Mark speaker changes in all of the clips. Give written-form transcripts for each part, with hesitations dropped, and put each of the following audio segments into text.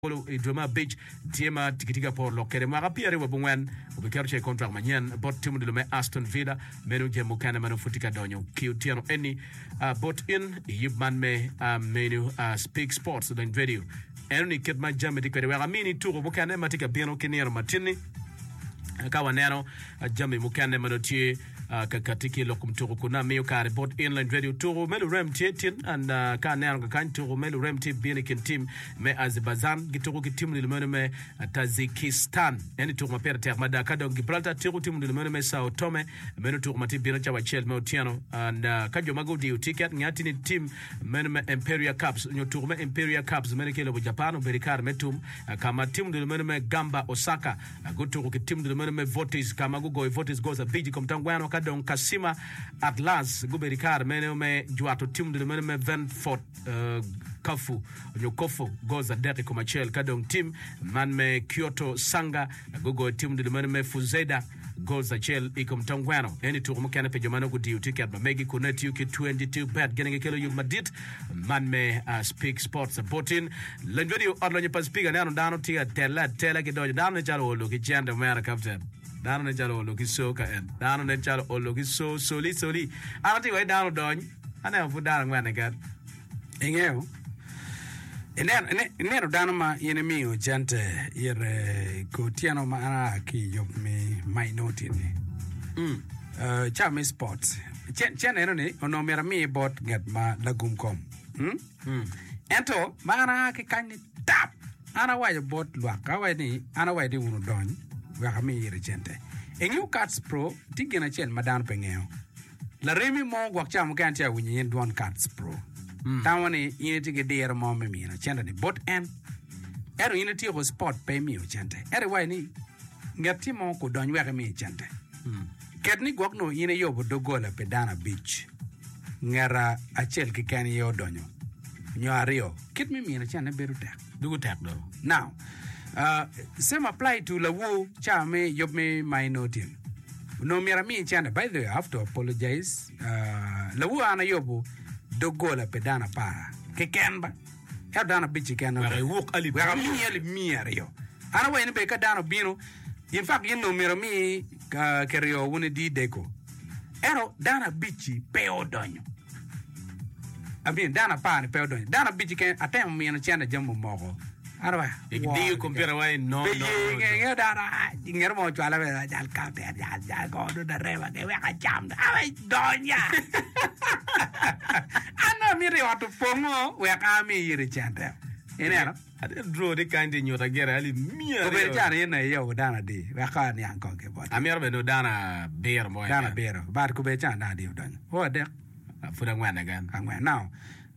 Speaker 1: Olo i dwe me abic tye ma kitye ka poro lok kwede mwaka pyeraryo wa bungwen obiketo ce i kontrak manyen bot tim odilo me Aston Villa. Meno jami mukene ma nongo pud tye ka donyo ki otyeno eni bot in i yub man me menu Speak Sports Odony Radio. Eno ni kit ma jami tye kwede wek amini tuko mukene ma tye ka bino ki nino matinni ka waneno jami mukene ma nongo tye Ka kati ki i lok kom tuku kun amiyo kare bot Inland Radio. Tuku me lurem tye tin and ka aneno kakany tuku me lurem tye bino i kin tim me Azerbaijan gituku ki tim odilo meno me Tajikistan. Eni tuku ma pire tek mada. Ka dong Gibraltar tuku tim odilo meno me Sao Tome meno tuku ma tye bino cawa acel me otyeno and ka jo ma gudiyo tiket nge atir ni tim meno me Imperia Cups nyo tuku me Imperia Cups meno ki i lobo Japan obedo i kare me tum ka ma tim odilo meno me Gamba Osaka Gutuko ki tim dul meno me Vortis ka ma gugoyo Vortis goals abic i kom tangweno ka dong Kashima Antlers gubedo i kare meno me jwato tim dul meno me Ventfort Kafu onyo Kofu goals adek i kom acel ka dong tim man me Kyoto Sanga gugoyo tim dul meno me Fuzeda goals acel i kom tangweno. Eni tuko mukene pi jo ma nongo gudiyo tiket ma megi kun nongo itiyo ki 22 bet gin gikelo yub madit Man me Speak Sports Botin Lony Radio ot lonyo pa Speak aneno dano tye ka telle atela ki donyo dano nen calo olo ki cente omera captain dano nen calo olo ki so ka en dano nen calo olo ki so soli soli an atye wai dano odony aneno pud dano angwen keken.
Speaker 2: Ingeyo, ineno, ineno dano ma in imiyo cente ire i otyeno ma an aa ki i yub me minority-ni, mm. ca me sports. Cente eno ni onongo myero ami bot ngat ma lagum kom. Mm? Mm. Ento ma an aa ki kany ni tap, an awaco bot lwak, awaco ni an awaco ni wun wudony wek ami ire cente. Ingeyo Kats Pro tye gin acel ma dano pe ngeyo. Laremi mo gwok ca mukene tye ka winyo in dwon Kats Pro. Tamo ni in itye ki diro mo me mino cente ni bot en. Ento in ityeko sport pe imiyo cente. Ento iwaco ni ngat-ti mo kudony wek imi cente. Ket ni gwok nongo in iyubo doggola pi dano abic, ngat acel keken aye odonyo, nyo aryo, kit me mino cente bedo tek.
Speaker 1: Dugo tek do.
Speaker 2: Now, uh, same apply to lawu ca me yub me minority. Onongo myero ami cente. By the way, I have to apologize. Uh, lawu an ayubo doggola pi dano apar keken ba. Ento dano abic keken
Speaker 1: Wek iwuk alip
Speaker 2: Wek amiyi alip miya aryo. An awaco ni bene ka dano obino, in fact in onongo myero omi kiryo wun idi deko. Ento dano abic-ci pe odonyo. I mean dano apar-ni pe odonyo. Dano abic-ci keken atemo mino cente jami omoko. An awaco,
Speaker 1: Idiyo kompiuta wa i no,
Speaker 2: Pe
Speaker 1: no,
Speaker 2: ye
Speaker 1: no,
Speaker 2: nge
Speaker 1: no.
Speaker 2: nge dano ah, ngeto mo ocwala bene jal kapten jal jal ko dong darema ke wek acam awe donya. An dong amito i ot opongo wek ami iri cente. Ineno?
Speaker 1: Atye draw ni kany tye nyuta gire alip miya
Speaker 2: Obedo
Speaker 1: aryo.
Speaker 2: calo in aye iyobo dano adi? Wek kong aniang kong ki boti.
Speaker 1: Amito bedo dano abiro mo
Speaker 2: Dano
Speaker 1: keken.
Speaker 2: abiro. But kobedo calo dano adi odonyo? O adek.
Speaker 1: Pud angwen keken.
Speaker 2: Angwen. Now,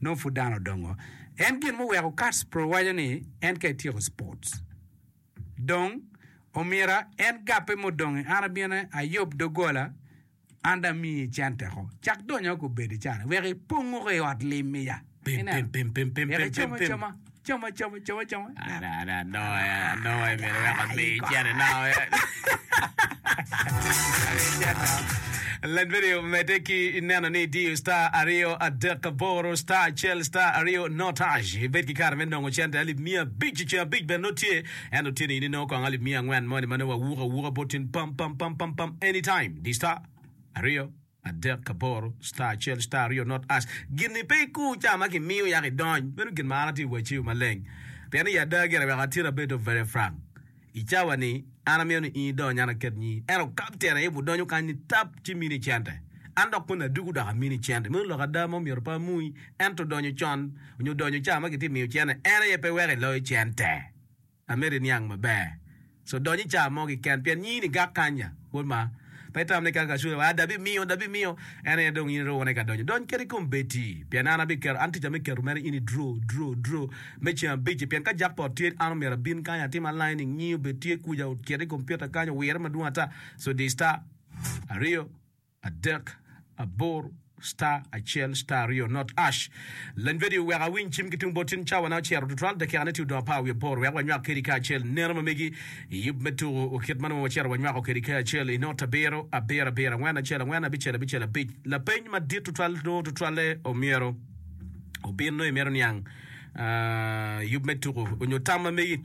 Speaker 2: nongo pud dano odongo. En gin muweko Kats Pro waco ni en ka etyeko sports dong omyera en gappe mudongi an abino ayub dogola An dong amiyi cente ko. Cak donyo ko bedi cani wek ipong oko i ot lim iya.
Speaker 1: Pim,
Speaker 2: Ineno?
Speaker 1: pim, pim, pim, pim,
Speaker 2: Wek
Speaker 1: pim,
Speaker 2: icam
Speaker 1: pim, pim.
Speaker 2: acama, cam acama, cam acama.
Speaker 1: Ada, ada, anongo ya, anongo ya, myero wek amiyi cente nongo ya. Led video medde ki neno ni idiyo star aryo adek aboro star acel star aryo not hash. Ibed ki kare me nongo cente alip miya abic i ceng abic bene nongo tye. Ento tye ni in inongo kong alip miya angwen moni ma nongo wawuko awuka bot tin pam pam pam pam pam anytime di star aryo adek aboro star acel star aryo not ash gin-ni pe ikur ca ma kimiyo yako idony meno gin ma an atye wacci maleng pien i ada gire weko atir abedo very frank i cawa ni an amito ni in idony an aket nyi ento kapten aye budonyo kany ni tap ci mini cente an dok koni adugu dok amini cente meno lok ada ma omyero pe amui ento donyo con nyo donyo ca ma kitye miyo cente en aye pe weko iloyo cente. Amito iniang maber. So dony i ca mo keken pien nyini gak kanya wod ma. Pe itam ni ka kacule wa da bimiyo da bimiyo en aye dong in irune ka donyo. Dony kadi kom bedi pien an abiketo an tica me keto mere in i draw draw draw me ceng abici pien ka jackpot tye an omyero abin kany atim aligning nyi obed tye kuca ocit i computer kany owire madwong ata so di star aryo adek, aboro, star, acel, star, aryo, not ash. Lany vedio wek awiny cim ki tung bot tin cawa na ocito tutwal dakika ne tye odong apar wiye aboro wek wanywak kedi kacel neno ma megi i yub me tuku kit ma nongo wacito wanywako kedi kacel i not abiro, abiro, abiro, angwen, acel, angwen, abicel, abicel, abic. Lapeny madit tutwal nongo tutwalle omyero obin nongo imito niang. Yub me tuku onyo tam ma megi.